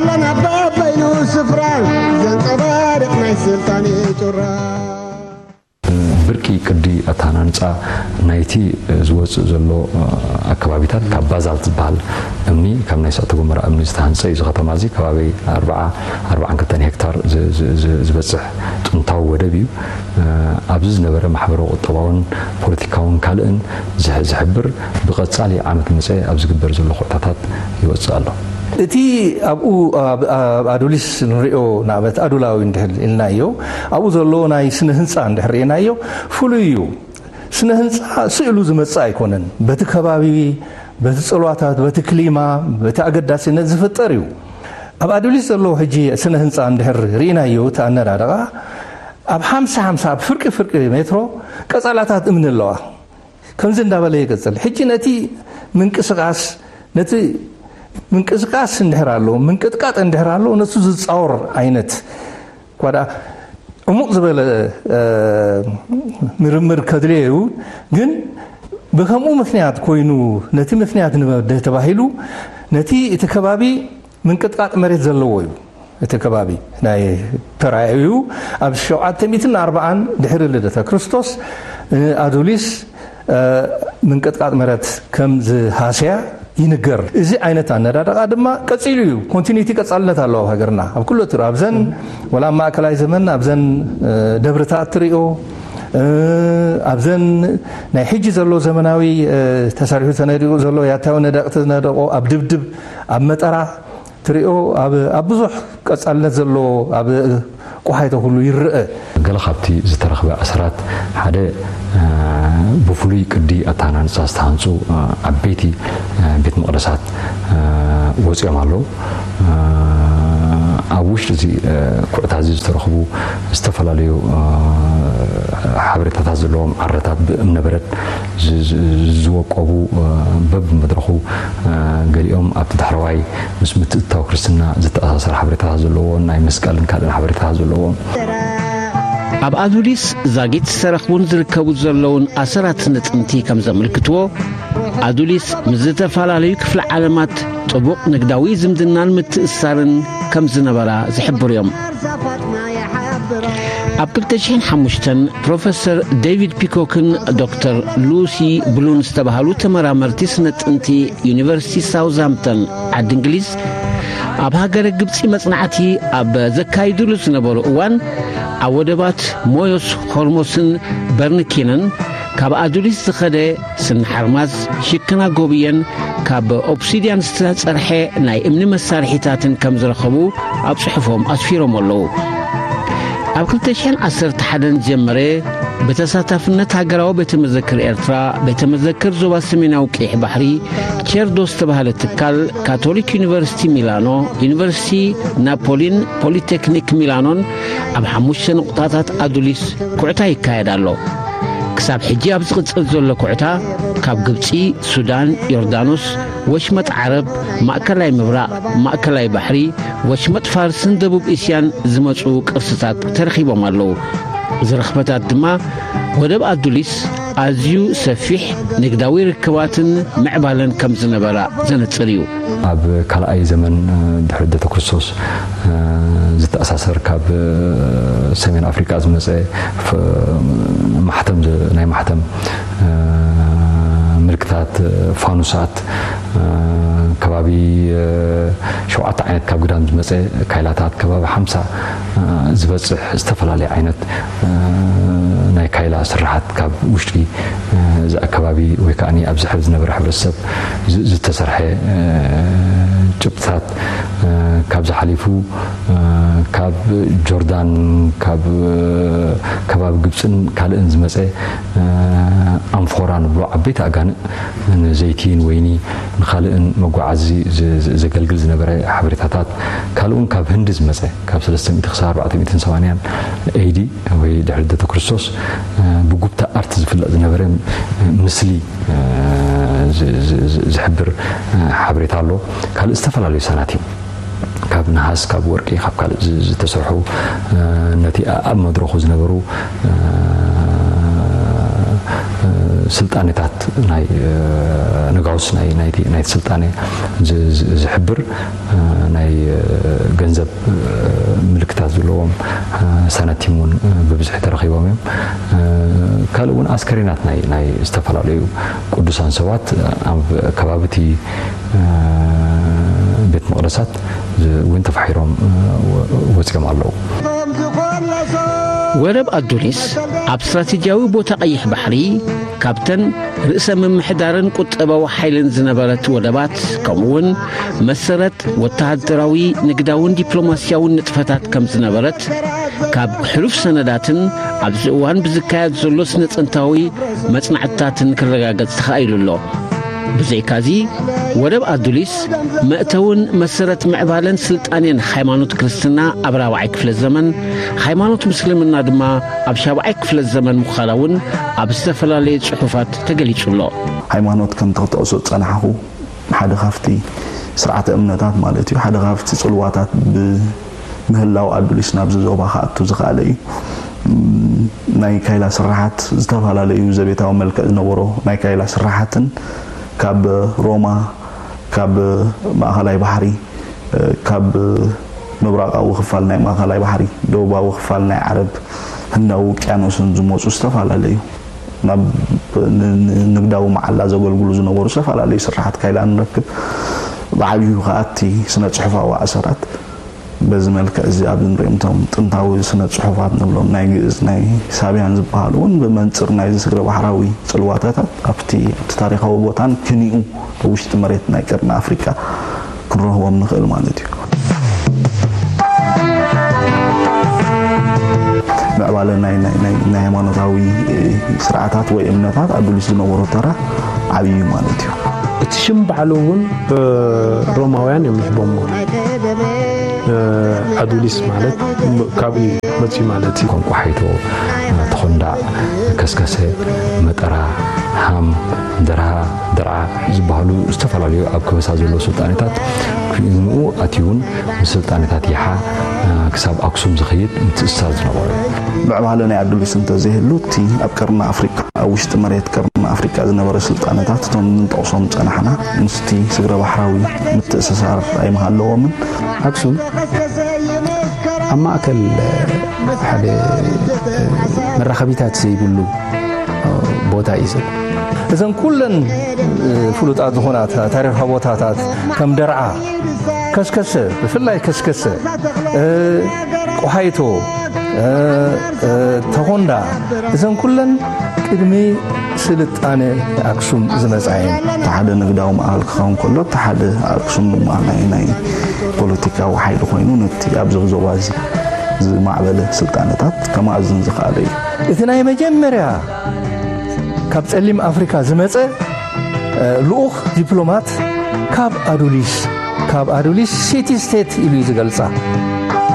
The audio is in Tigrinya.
ለና በበይኑ ስፍራ ዘንጸባርቕ ናይ ስልጣን ጩራ። ብርቂ ቅዲ ኣተሃናንጻ ናይቲ ዝወጽእ ዘሎ ኣከባቢታት ካብ ባዛልት ዝበሃል እምኒ፣ ካብ ናይ እሳተ ጎመራ እምኒ ዝተሃንጸ እዩ። እዚ ከተማ እዚ ከባቢ ኣርባዓ ኣርባዓን ክልተን ሄክታር ዝበጽሕ ጥንታዊ ወደብ እዩ። ኣብዚ ዝነበረ ማሕበራዊ፣ ቁጠባውን ፖለቲካውን ካልእን ዝሕብር ብቐጻሊ ዓመት መጸ ኣብ ዝግበር ዘሎ ኩዕታታት ይወጽእ ኣሎ። እቲ ኣብኡ ኣብ ኣዱሊስ ንሪኦ ንኣብነት ኣዱላዊ እንድሕር ኢልናዮ ኣብኡ ዘሎ ናይ ስነ ህንፃ እንድሕር ርኢናዮ ፍሉይ እዩ። ስነ ህንፃ ስእሉ ዝመፅእ ኣይኮነን። በቲ ከባቢ፣ በቲ ፅልዋታት፣ በቲ ክሊማ፣ በቲ ኣገዳሲነት ዝፍጠር እዩ። ኣብ ኣዱሊስ ዘሎ ሕጂ ስነ ህንፃ እንድሕር ርኢናዮ እቲ ኣነዳድቓ ኣብ ሓምሳ ሓምሳ ኣብ ፍርቂ ፍርቂ ሜትሮ ቀፃላታት እምኒ ኣለዋ። ከምዚ እንዳበለ ይቅፅል። ሕጂ ነቲ ምንቅስቃስ ነቲ ምንቅስቃስ እንድሕር ኣሎ ምንቅጥቃጥ እንድሕር ኣሎ ነሱ ዝፃወር ዓይነት እኳ ደኣ ዕሙቕ ዝበለ ምርምር ከድልዮ እዩ። ግን ብከምኡ ምክንያት ኮይኑ ነቲ ምክንያት ንመብድህ ተባሂሉ ነቲ እቲ ከባቢ ምንቅጥቃጥ መሬት ዘለዎ እዩ። እቲ ከባቢ ናይ ተራእዩ ኣብ ሸውዓተ ሚእትን ኣርባዓን ድሕሪ ልደተ ክርስቶስ ኣዱሊስ ምንቅጥቃጥ መሬት ከም ዝሃስያ ይንገር። እዚ ዓይነት ኣነዳድቓ ድማ ቀፂሉ እዩ። ኮንቲኒቲ ቀፃልነት ኣለዎ ኣብ ሃገርና ኣብ ኩሉ ትር ኣብዘን ወላ ኣብ ማእከላይ ዘመን ኣብዘን ደብርታት ትሪኦ ኣብዘን ናይ ሕጂ ዘሎ ዘመናዊ ተሰሪሑ ተነዲቑ ዘሎ ያታዊ ነደቕ ተነደቆ ኣብ ድብድብ ኣብ መጠራ ትሪኦ ኣብ ብዙሕ ቀፃልነት ዘለዎ ኣብ ቆሓይተ ኩሉ ይረአ። ገለ ካብቲ ዝተረኽበ ኣሰራት ሓደ ብፍሉይ ቅዲ ኣተሃናንፃ ዝተሃንፁ ዓበይቲ ቤት መቕደሳት ወፂኦም ኣለዉ። ኣብ ውሽጢ እዚ ኩዕታ እዚ ዝተረኽቡ ዝተፈላለዩ ሓበሬታታት ዘለዎም ዓረታት ብእምነበረድ ዝወቀቡ በብመድረኹ ገሊኦም ኣብቲ ዳሕረዋይ ምስ ምትእትታው ክርስትና ዝተኣሳሰር ሓበሬታታት ዘለዎም ናይ መስቀልን ካልእን ሓበሬታታት ዘለዎም። ኣብ ኣዱሊስ ዛጊት ዝተረኽቡን ዝርከቡ ዘለውን ኣሰራት ስነ ጥንቲ ከም ዘመልክትዎ ኣዱሊስ ምስ ዝተፈላለዩ ክፍለ ዓለማት ጥቡቕ ንግዳዊ ዝምድናን ምትእስሳርን ከም ዝነበራ ዝሕብሩ እዮም። ኣብ ክልተ ሽሕን ሓሙሽተን ፕሮፌሰር ዴቪድ ፒኮክን ዶክተር ሉሲ ብሉን ዝተባህሉ ተመራመርቲ ስነ ጥንቲ ዩኒቨርሲቲ ሳውዝሃምፕተን ዓዲ እንግሊዝ ኣብ ሃገረ ግብፂ መፅናዕቲ ኣብ ዘካይድሉ ዝነበሩ እዋን ኣብ ወደባት ሞዮስ ሆርሞስን በርንኪንን ካብ ኣዱሊስ ዝኸደ ስኒ ሓርማዝ ሽክና ጎብየን ካብ ኦብሲድያን ዝተፀርሐ ናይ እምኒ መሳርሒታትን ከም ዝረኸቡ ኣብ ፅሑፎም ኣስፊሮም ኣለዉ። ኣብ ክልተ ሽሕን ዓሰርተ ሓደን ዝጀመረ ብተሳታፍነት ሃገራዊ ቤተ መዘክር ኤርትራ፣ ቤተ መዘክር ዞባ ሰሜናዊ ቀይሕ ባሕሪ፣ ቸርዶ ዝተባህለ ትካል፣ ካቶሊክ ዩኒቨርሲቲ ሚላኖ፣ ዩኒቨርሲቲ ናፖሊን ፖሊቴክኒክ ሚላኖን ኣብ ሓሙሽተ ንቑጣታት ኣዱሊስ ኩዕታ ይካየድ ኣሎ። ክሳብ ሕጂ ኣብ ዝቕጽል ዘሎ ኩዕታ ካብ ግብጺ፣ ሱዳን፣ ዮርዳኖስ፣ ወሽመጥ ዓረብ፣ ማእከላይ ምብራቕ፣ ማእከላይ ባሕሪ፣ ወሽመጥ ፋርስን ደቡብ እስያን ዝመጹ ቅርስታት ተረኺቦም ኣለዉ። እዚ ርኽበታት ድማ ወደብ ኣዱሊስ ኣዝዩ ሰፊሕ ንግዳዊ ርክባትን ምዕባለን ከም ዝነበራ ዘነጽር እዩ። ኣብ ካልኣይ ዘመን ድሕሪ ልደተ ክርስቶስ ዝተኣሳሰር ካብ ሰሜን ኣፍሪቃ ዝመጸ ማሕተም ናይ ማሕተም ምልክታት ፋኑሳት ከባቢ ሸውዓተ ዓይነት ካብ ግዳም ዝመጸ ካይላታት ከባቢ ሓምሳ ዝበጽሕ ዝተፈላለየ ዓይነት ናይ ካይላ ስራሓት ካብ ውሽጢ እዚ ኣከባቢ ወይ ከዓ ኣብዚ ሕዚ ዝነበረ ሕብረተሰብ ዝተሰርሐ ጭብጥታት ካብዚ ሓሊፉ ካብ ጆርዳን ካብ ከባቢ ግብፅን ካልእን ዝመፀ ኣንፎራ ንብሎ ዓበይቲ ኣጋንእ ንዘይቲ ንወይኒ ንካልእን መጓዓዚ ዘገልግል ዝነበረ ሓበሬታታት ካልእውን ካብ ህንዲ ዝመፀ ካብ ሰለስተ ሚእቲ ክሳብ ኣርባዕተ ሚእትን ሰማንያን ኤዲ ወይ ድሕሪ ልደተ ክርስቶስ ብጉብታ ኣርት ዝፍለጥ ዝነበረ ምስሊ ዝሕብር ሓበሬታ ኣሎ። ካልእ ዝተፈላለዩ ሰናቲም ካብ ነሃስ ካብ ወርቂ ካብ ካልእ ዝተሰርሑ ነቲ ኣብ መድረኹ ዝነበሩ ስልጣኔታት ናይ ነጋውስ ናይ ናይቲ ናይቲ ስልጣኔ ዝሕብር ናይ ገንዘብ ምልክታት ዘለዎም ሳናቲም እውን ብብዝሒ ተረኺቦም እዮም። ካልእ እውን ኣስከሬናት ናይ ዝተፈላለዩ ቅዱሳን ሰባት ኣብ ከባቢ እቲ ቤት መቕደሳት እውን ተፋሒሮም ወፂኦም ኣለዉ። ወደብ ኣዱሊስ ኣብ ስትራቴጂያዊ ቦታ ቀይሕ ባሕሪ ካብተን ርእሰ ምምሕዳርን ቁጠባዊ ሓይልን ዝነበረት ወደባት ከምኡውን መሰረት ወተሃደራዊ ንግዳውን ዲፕሎማስያውን ንጥፈታት ከም ዝነበረት ካብ ሕሉፍ ሰነዳትን ኣብዚ እዋን ብዝካየድ ዘሎ ስነ-ጥንታዊ መጽናዕትታትን ክረጋገጽ ተኻኢሉ ኣሎ። ብዘይካዚ ወደብ ኣዱሊስ መእተውን መሰረት ምዕባለን ስልጣኔን ሃይማኖት ክርስትና ኣብ ራብዓይ ክፍለ ዘመን፣ ሃይማኖት ምስልምና ድማ ኣብ ሻብዓይ ክፍለ ዘመን ምዃና እውን ኣብ ዝተፈላለየ ጽሑፋት ተገሊጹ ኣሎ። ሃይማኖት ከምቲ ክጠቕሶ ዝጸናሕኹ ሓደ ካብቲ ስርዓተ እምነታት ማለት እዩ ሓደ ካብቲ ጽልዋታት ብምህላው ኣዱሊስ ናብዚ ዞባ ክኣቱ ዝኸኣለ እዩ። ናይ ካይላ ስራሓት ዝተፈላለዩ ዘቤታዊ መልክዕ ዝነበሮ ናይ ካይላ ስራሓትን ካብ ሮማ ካብ ማእኸላይ ባሕሪ ካብ ምብራቓዊ ክፋል ናይ ማእኸላይ ባሕሪ ደቡባዊ ክፋል ናይ ዓረብ ህንዳዊ ውቅያኖስን ዝመፁ ዝተፈላለዩ ናብ ንግዳዊ መዓላ ዘገልግሉ ዝነበሩ ዝተፈላለዩ ስራሓት ካይላ ንረክብ። ብዓብዩ ከዓ እቲ ስነ ፅሑፋዊ ኣሰራት በዚ መልክዕ እዚ ኣብዚ ንሪኦም እቶም ጥንታዊ ስነ ፅሑፋት ንብሎም ናይ ግእዝ ናይ ሳብያን ዝበሃሉ እውን ብመንፅር ናይዚ ስግረ ባሕራዊ ፅልዋታታት ኣብቲ ኣብቲ ታሪካዊ ቦታን ክኒኡ ኣብ ውሽጢ መሬት ናይ ቀርኒ ኣፍሪቃ ክንረኽቦም ንኽእል ማለት እዩ። ምዕባለ ናይ ናይ ናይ ናይ ሃይማኖታዊ ስርዓታት ወይ እምነታት ኣዱሊስ ዝነበሮ ተራ ዓብዪ እዩ ማለት እዩ። እቲ ሽም ባዕሉ እውን ሮማውያን እዮም ይሕቦሞ። ኣዱሊስ ማለት ካብኡ መፅዩ ማለት እዩ። ቋንቋ ሓይቶ፣ ተኾንዳዕ፣ ከስከሰ፣ መጠራ፣ ሃም፣ ደርሃ፣ ደርዓ ዝበሃሉ ዝተፈላለዩ ኣብ ከበሳ ዘለዉ ስልጣኔታት ክኢንኡ ኣትዩውን ምስ ስልጣኔታት ይሓ ክሳብ ኣክሱም ዝኸይድ ምትእስሳር ዝነበሮ እዩ። ምዕባለ ናይ ኣዱሊስ እንተዘይህሉ እቲ ኣብ ቀርኒ ኣፍሪቃ ኣብ ውሽጢ መሬት ቀርኒ ኣፍሪቃ ዝነበረ ስልጣነታት እቶም ንጠቕሶም ዝጸናሕና ምስቲ ስግረ ባሕራዊ ምትእስሳር ኣይምሃለዎምን። ኣክሱም ኣብ ማእከል ሓደ መራኸቢታት ዘይብሉ ቦታ እዩ ዘሎ። እዘን ኩለን ፍሉጣት ዝኾና ታሪኻዊ ቦታታት ከም ደርዓ፣ ከስከሰ፣ ብፍላይ ከስከሰ፣ ቆሃይቶ፣ ተኾንዳ፣ እዘን ኩለን ቅድሚ ስልጣነ ኣክሱም ዝመጻ እየን። እቲ ሓደ ንግዳዊ ማእኸል ክኸውን ከሎ፣ እቲ ሓደ ኣክሱም ድማ ናይ ናይ ፖለቲካዊ ሓይሊ ኮይኑ ነቲ ኣብዚ ዞባ እዚ ዝማዕበለ ስልጣነታት ከማእዝን ዝኸኣለ እዩ። እቲ ናይ መጀመርያ ካብ ጸሊም ኣፍሪካ ዝመጸ ልኡኽ ዲፕሎማት ካብ ኣዱሊስ ካብ ኣዱሊስ ሲቲ ስቴት ኢሉ እዩ ዝገልጻ።